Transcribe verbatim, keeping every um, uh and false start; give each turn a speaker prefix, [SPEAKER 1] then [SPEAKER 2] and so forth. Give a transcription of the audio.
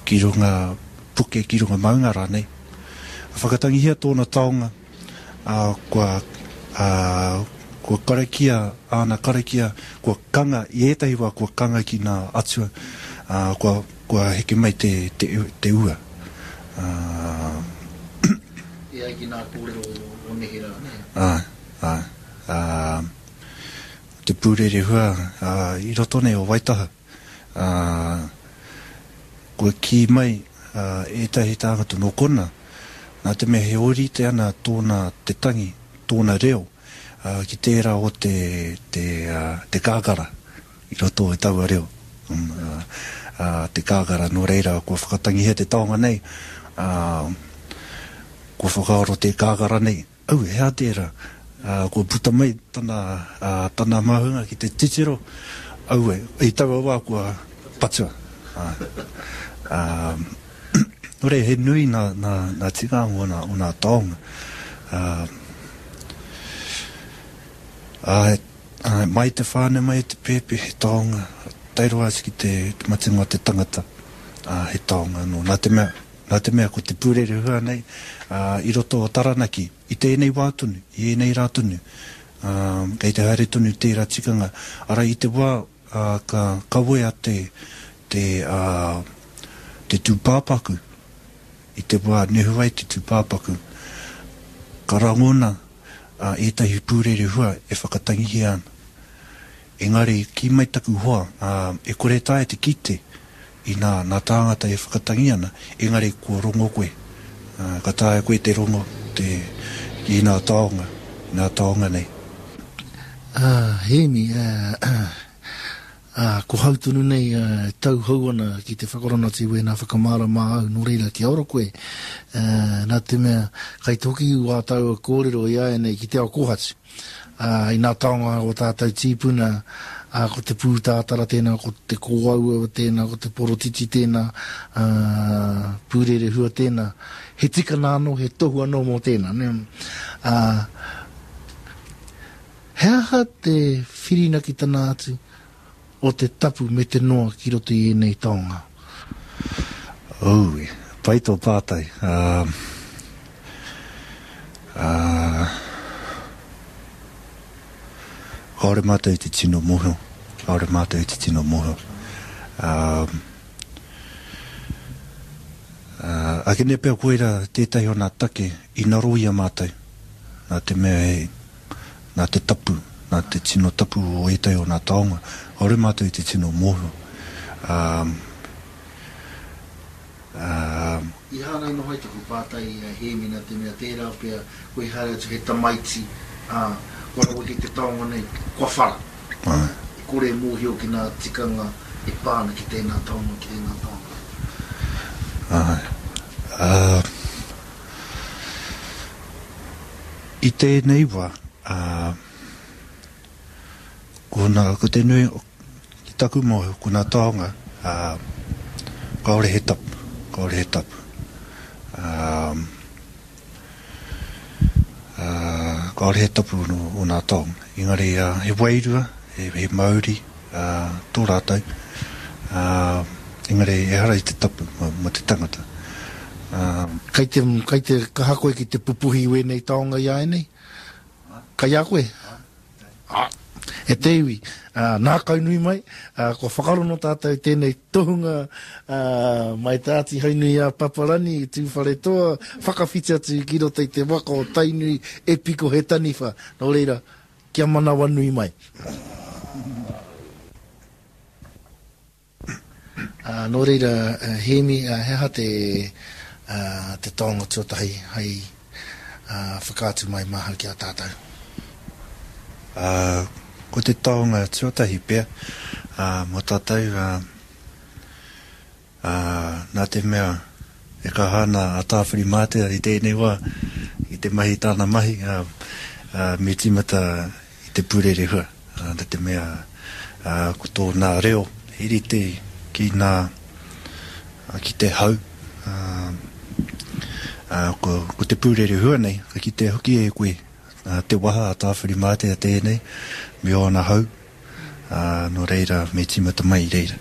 [SPEAKER 1] ki runga puke, ki runga maunga rānei. Whakatangihia tōna taonga, ā, kua, ā, kua karakia āna karakia, kua kanga, i ētahi wā kua kanga ki ngā atua, ā, kua, kua heke mai te, te, te ua. Ā,
[SPEAKER 2] E ai ki ngā kōrero o neherā, nē?
[SPEAKER 1] Āe, āe. Ā, te pūrerehua, ā, i roto nei o Waitaha, ā, kua kī mai, ā, ētahi tāngata nō kona, nā te mea he ōrite ana tōna te tangi, tōna reo, ā, ki tērā o te, te, ā, te kākara i roto i taua reo. Ā, ā, te kākara, nō reira, kua whakatangihia te taonga nei, ā, kua whakaaro te kākara nei, au, he aha tērā? Ā, kua puta mai tana, ā, tana māhunga ki te titiro, aue, i taua wā kua patua. Ā, ā, nō reira, he nui nā, nā, nā tikanga o nā, o nā taonga. Ā, ā, ā, mai te whānau, mai te pēpi, he taonga, tae roa atu ki te, te matenga o te tangata, ā, he taonga anō. Nā te mea, nā te mea ko te pūrerehua nei, ā, i roto o Taranaki, i tēnei wā tonu, i ēnei rā tonu, ā, kei te haere tonu tērā tikanga. Arā, i te wā, ā, ka kawea te, te, ā, te tūpāpaku, i te wā nehu ai te tūpāpaku, ka rangona, ā, ētahi pūrerehua e whakatangihia ana. Engari, kī mai taku hoa, ā, e kore taea te kite i nā, nā tāngata e whakatangi ana, engari kua rongo koe. Ā, ka taea koe te rongo te, i nā taonga, i nā taonga nei.
[SPEAKER 2] Ā, Hēmi, ā, ā, ko hau tonu nei, ā, e tauhou ana ki te whakarongo atu i wēnā whakamārama au, nō reira, kia ora koe. Ā, nā te mea, kai te hoki wā tāua kōrero i āianei ki te ao kōhatu. Ā, i nā taonga o tātou tīpuna, ā, ko te pūtātara tēnā, ko te kōauau tēnā, ko te porotiti tēnā, ā, pūrerehua tēnā. He tikanga anō, he tohu anō mō tēnā, nē? Ā, he aha te whirinakitana atu o te tapu me te noa ki roto i ēnei taonga?
[SPEAKER 1] Ui, pai tō pātai. Ā, ā, kāore mātou i te tino mōhio. Kāore mātou i te tino mōhio. Ā, ā, ake nei pea koira tētahi o nā take i ngaro i a mātou. Nā te mea he, nā te tapu, nā te tino tapu o ētahi o nā taonga. Kāore mātou i te tino mōhio. Ā, ā,
[SPEAKER 2] I hāngai noa ai taku pātai i a Hēmi nā te mea tērā pea koe i haere atu he tamaiti, ā, kua rawe ki te taonga nei, kua whara.
[SPEAKER 1] Āe.
[SPEAKER 2] E kore e mōhio ki ngā tikanga e pā ana ki tēnā taonga, ki tēnā taonga.
[SPEAKER 1] Āe. Ā, i tēnei wā, ā, ko nā, ko te nui, ki taku mōhio, ko nā taonga, ā, kāore he tapu, kāore he tapu. Ā, ā, kāore he tapu o, o nā taonga. Engari, ā, he wairua, he, he mauri, ā, tō rātou. Ā, engari, ehara i te tapu mō, mō te tangata. Ā,
[SPEAKER 2] Kai te, kai te kaha koe ki te pupuhi i wēnei taonga i āianei? Kai a koe? Ā, e te iwi, ā, nā kaunui mai, ā, kua whakarono tātou tēnei tohunga, ā, mai te Āti Haunui a Paparani, Tūwharetoa, whakawhiti atu ki roto i te waka o Tainui e piko he taniwha. Nō reira, kia manawanui mai. Ā, nō reira, Hēmi, ā, he aha te, ā, te taonga tuatahi hei, ā, whakaatu mai māhau ki a tātou?
[SPEAKER 1] Ā, ko te taonga tuatahi pea, ā, mō tātou, ā, ā, nā te mea e kaha ana a Tāwhirimātea i tēnei wā, i te mahi tāna mahi, ā, ā, me tīmata i te pūrerehua, ā, nā te mea, ā, ko tōna reo he rite ki nā, ā, ki te hau, ā, ā, ko, ko te pūrerehua nei, ka kitea hoki e koe, ā, te waha a Tāwhirimātea tēnei, me ōna hau, ā, nō reira, me tīmata mai i reira.